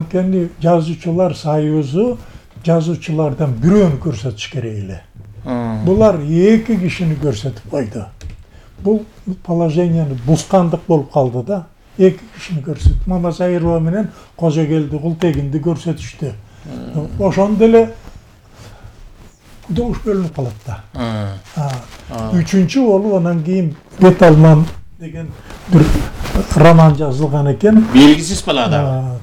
анткени жазуучулар союзу жазуучулардан бирөөнү көрсөтүш керек эле. Булар 2 кишини көрсөтүп койду. Бул положенияны бускандык болуп калды да. 2 кишини көрсөтүп, Мамасайырова менен Кожогелди Култегинди көрсөтүштү. Ошондо эле добуш бөлүнүп калат да. Үчүнчү болуп анан кийин Бет алман деген бир роман жазылган экен. Белгисиз балада.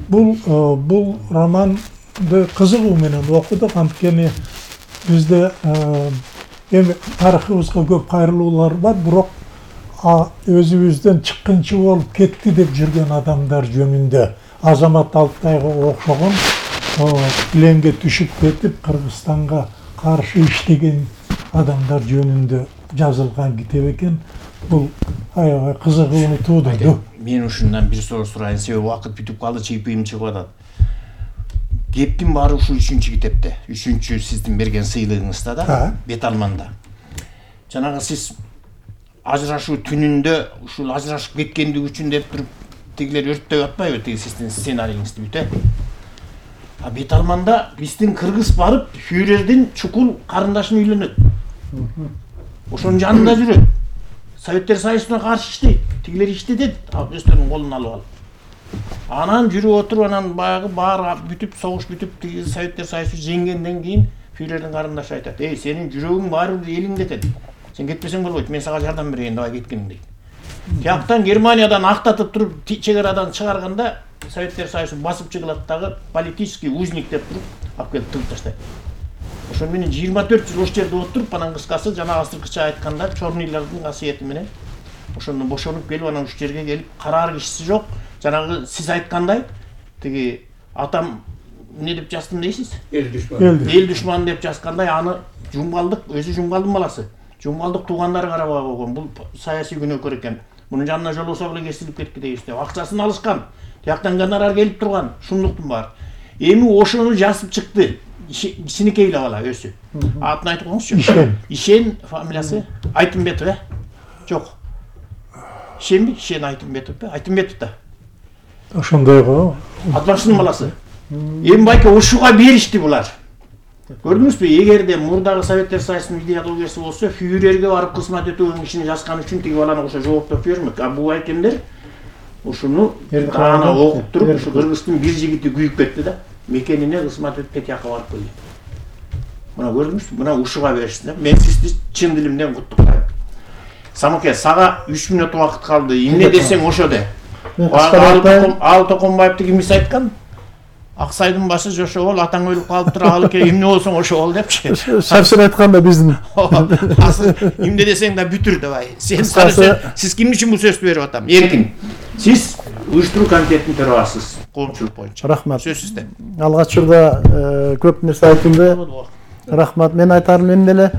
Бул романды кызыгуу менен окудук, анткени бизде эми тарыхыбызга көп кайрылуулар бар, бирок өзүбүздөн чыккынчы болуп кетти деп жүргөн адамдар жөнүндө Азамат Алтайга окшогон пленге түшүп кетип Кыргызстанга каршы иштеген адамдар жөнүндө жазылган китеп экен. Бул аябай кызыгууну туудурду. Мен ушундан бир суроо сурайын, себеби убакыт бүтүп калды, чийпийим чыгып атат. Кептин баары ушул 3-чү китепте, 3-чү сиздин берген сыйлыгыңызда да, Бет алманда. Жанагы сиз ажырашуу түнүндө ушул ажырашып кеткендиги үчүн деп туруп тигилер өрттөп атпайбы, тиги сиздин сценариңизди бүтө? Бет алманда биздин кыргыз барып фюрердин чукул карындашын үйлөнөт. Ошонун жанында жүрөт. Советтер Союзуна каршы иштейт. Тигилер иштетет, өздөрүнүн колуна алып алып. Анан жүрүп отуруп, анан баягы баары бүтүп, согуш бүтүп, тиги Советтер Союзу жеңгенден кийин фюрердин карындашы айтат: "Эй, сенин жүрөгүң баары бир элиңде экен. Сен кетпесең болбойт, мен сага жардам берейин, давай кеткиң" дейт. Тияктан Германиядан актатып туруп чегарадан чыгарганда Советтер Союзу басып чыгылат дагы, политический узник деп туруп алып келип тыгып таштайт. Ошон менен 24 жыл ошол жерде отуруп, анан кыскасы жана азыркыча айтканда Чорнийлардын касиети менен ошондон бошонуп келип, анан ушул жерге келип, караар кишиси жок. Жанагы сиз айткандай, тиги атам эмне деп жаздым дейсиз? Эл душман деп жазгандай, аны Жумгалдык, өзү Жумгалдын баласы. Жумгалдык туугандары карабай койгон. Бул саясий күнөөкөр экен. Мунун жанына жолосо эле кесилип кетти дейбиз деп. Акчасын алышкан. Тияктан гонорар келип турган. Шунлуктун баары. Эми ошону жазып чыкты. Кичинекей бала өзү. Атын айтып коюңузчу. Ишен фамилиясы Айтымбетов, Жок. Ишенби? Ишен Айтымбетов, Айтымбетов да. Ошондой го. Атбашынын баласы. Эми байке ушуга беришти булар. Көрдүңүзбү? Эгерде мурдагы Советтер Союзунун идеологиясы болсо, фюрерге барып кызмат өтөгөн кишини жазган үчүн тиги баланы ошо жооптоп бермек. Бул байкемдер ушуну ана окуп туруп, ушу Кыргыздын бир жигити күйүп кетти да, мекенине кызмат өтүп тияка барып койду. Мына көрдүңүзбү? Мына ушуга беришти. Мен сизди чын дилимден куттуктайм. Самоке, сага 3 мүнөт убакыт калды. Эмне десең ошо де. Ал Токонбаевди кимис айткан? Аксайдын башы жошо бол, атаң өлүп калыптыр, ал эмне болсоң ошо бол депчи. Шаршыр айтканда биздин. Эмне десең да бүтүр давай. Сиз ким үчүн бул сөздү берип атам? Эркин. Сиз уюштуруу комитетинин төрагасысыз, коомчулук боюнча. Рахмат. Сөз сизде. Алгач учурда көп нерсе айтылды. Рахмат. Мен айтарым эмне эле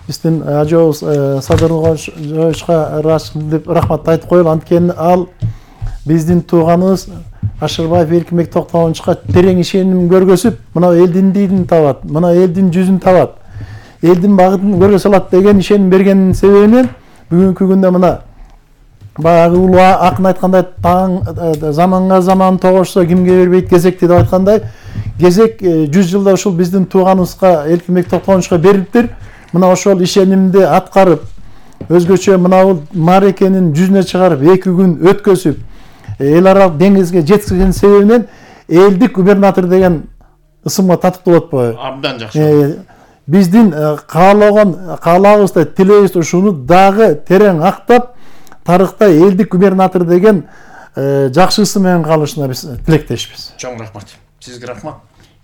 биздин ажообуз Садырлыговичка рахмат айтып коелу. Анткени ал биздин тууганыбыз Ашырбаев Эркинбек Токтогоновичка терең ишеним көргөзүп, мына элдин дилин табат, мына элдин жүзүн табат, элдин багытын көргөзө алат деген ишеним бергенин себебинен бүгүнкү күндө мына баягы улуу акын айткандай, заманга заман тогошсо кимге бербейт кезекти деп айткандай, кезек 100 жылда ушул биздин тууганыбызга Эркинбек Токтогоновичка берилиптир. Мына ошол ишенимди аткарып, өзгөчө мына бул маарекенин жүзүнө чыгарып 2 күн өткөзүп, эл аралык деңизге жеткизген себебинен элдик губернатор деген ысымга татыктуу болот болбойбу? Абдан жакшы. Биздин каалабызда, тилебизде ушуну дагы терең актап, тарыхта элдик губернатор деген жакшы ысым менен калышына биз тилектешпиз. Чоң рахмат. Сизге рахмат.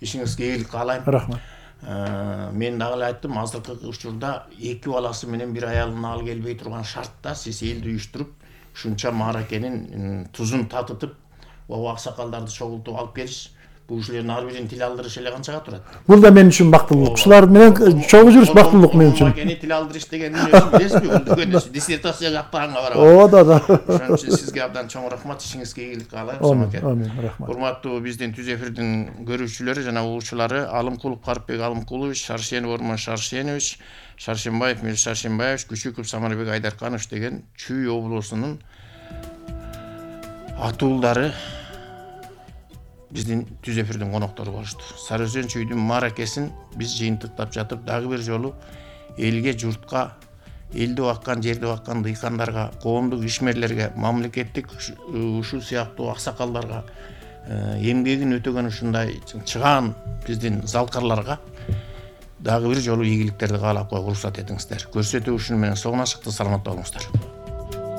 Ишиңизге ийгилик каалайм. Рахмат. Мен дагы эле айттым, азыркы учурда 2 баласы менен бир аялын ал келбей турган шартта сиз элди уюштуруп, ушунча мааракенин тузун татытып, аксакалдарды чогултуп алып келиш, бул ушулардын ар биринин тил алдырыш эле канчага турат? Бул да мен үчүн бактылык. Ушулар менен чогуу жүрүш бактылык мен үчүн. Мааракени тил алдырыш дегенди билесизби? Бул дегенде диссертация жактаганга барабы. О, да. Ошон үчүн сизге абдан чоң рахмат, ишиңизге ийгилик каалайм, Самоке. Амин, рахмат. Урматтуу биздин түз эфирдин көрүүчүлөрү жана угуучулары, Алымкулов Карипбек Алымкулович, Шаршенов Ормон Шаршенович, Шаршенбаев Мир Шаршенбаевич, Күчүков Самарбек Айдарканович деген Чүй облусунун атуулдары биздин түз эфирдин коноктору болушту. Сары Өзөн чүйдүн мааракесин биз жыйынтыктап жатып дагы бир жолу элге, журтка, элди баккан, жерди баккан дыйкандарга, коомдук ишмерлерге, мамлекеттик ушул сыяктуу аксакалдарга, эмгегин өтөгөн ушундай чыгаан биздин залкарларга дагы бир жолу ийгиликтерди каалап койгула уруксат этиңиздер. Көрсөтүү ушуну менен соңуна чыкты. Саламатта болуңуздар.